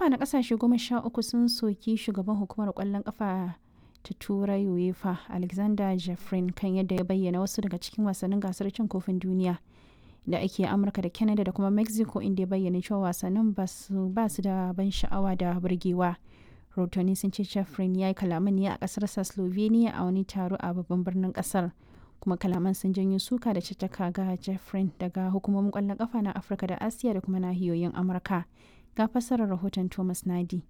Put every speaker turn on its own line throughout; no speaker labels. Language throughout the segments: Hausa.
kafa na kasashe 13 sun soki shugaban hukumar kwallon kafa ta Turai UEFA Alexander Jeffrin kan yadda ya bayyana wasu daga cikin wasannin gasar cin kofin duniya da ake Amurka da Canada da kuma Mexico, inda ya bayyana cewa wasannin ba su da ban sha'awa da burgewa. Rahotanni sun ce Jeffrin ya yi kalaman ne a kasarsa Slovenia a wani taro a babban birnin kasar. Kuma kalaman sun janyo suka da caccaka ga Jeffrin daga hukumomin kwallon kafa na Afirka da Asiya da kuma nahiyoyin Amurka. Ga fassarar rahoton Thomas Nadi.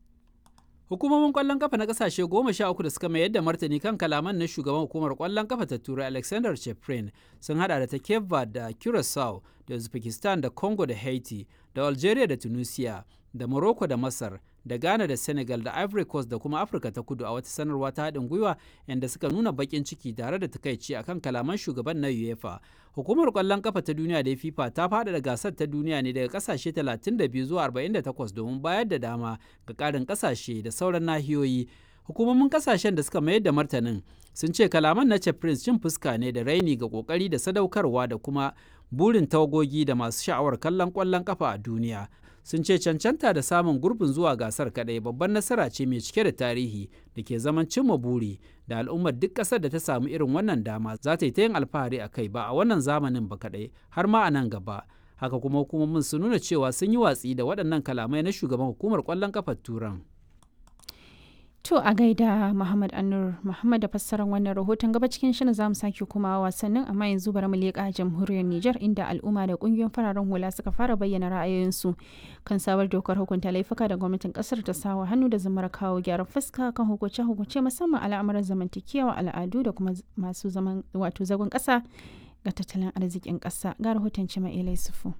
Hukumomin kwallon kafa na kasashe 13 da suka mayar da martani kan kalaman na shugaban hukumar kwallon kafa ta Turai Alexander Cheprin sun hada da ta Cape Verde da Curacao da Uzbekistan da Congo da Haiti da Algeria da Tunisia da Morocco da Masar da Ghana da Senegal da Ivory Coast da kuma Afirka ta Kudu a wata sanarwa ta haɗin gwiwa inda suka nuna baƙin ciki tare da takaici akan kalaman shugaban na UEFA. Hukumar ƙwallon kafa ta duniya da FIFA ta faɗaɗa gasar ta duniya ne daga ƙasashe 32 zuwa 48 domin bayar da dama ga ƙarin ƙasashe da sauran nahiyoyi. Hukumomin kasashen da suka mayar da martanin sun ce kalaman na Prince cin fuska ne da raini ga kokari da sadaukarwa da kuma burin tawagogi da masu sha'awar kallon ƙwallon kafa a duniya. Sun ce cancanta da samun gurbin zuwa gasar kadai babban nasara ce mai cike da tarihi da ke zaman cimma buri da al'ummar duk ƙasar da ta samu irin wannan dama za ta yi ta yin alfahari a kai ba a wannan zamanin ba kadai har ma a nan gaba. Haka kuma hukumomin sun nuna cewa sun yi watsi da waɗannan kalamai na shugaban hukumar ƙwallon kafar Turan.
To a gaida Muhammad Anur Muhammad da fassarar wannan rahoton. Gaba cikin shirin zamu sake kuma wasannin, amma yanzu bari mu leƙa jamhuriyar Nijar, inda al'umma da kungiyoyin fararen hula suka fara bayyana ra'ayoyinsu kan sabar dokar hukunta laifuka da gwamnatin kasar ta sawa hannu da zamar kawo gyaran fuska kan hukunce-hukunce, musamman al'amuran zamantakewa, al'adu da kuma masu zaman wato zagon ƙasa ga tattalin arzikin ƙasa. Ga rahoton Cima Sufu.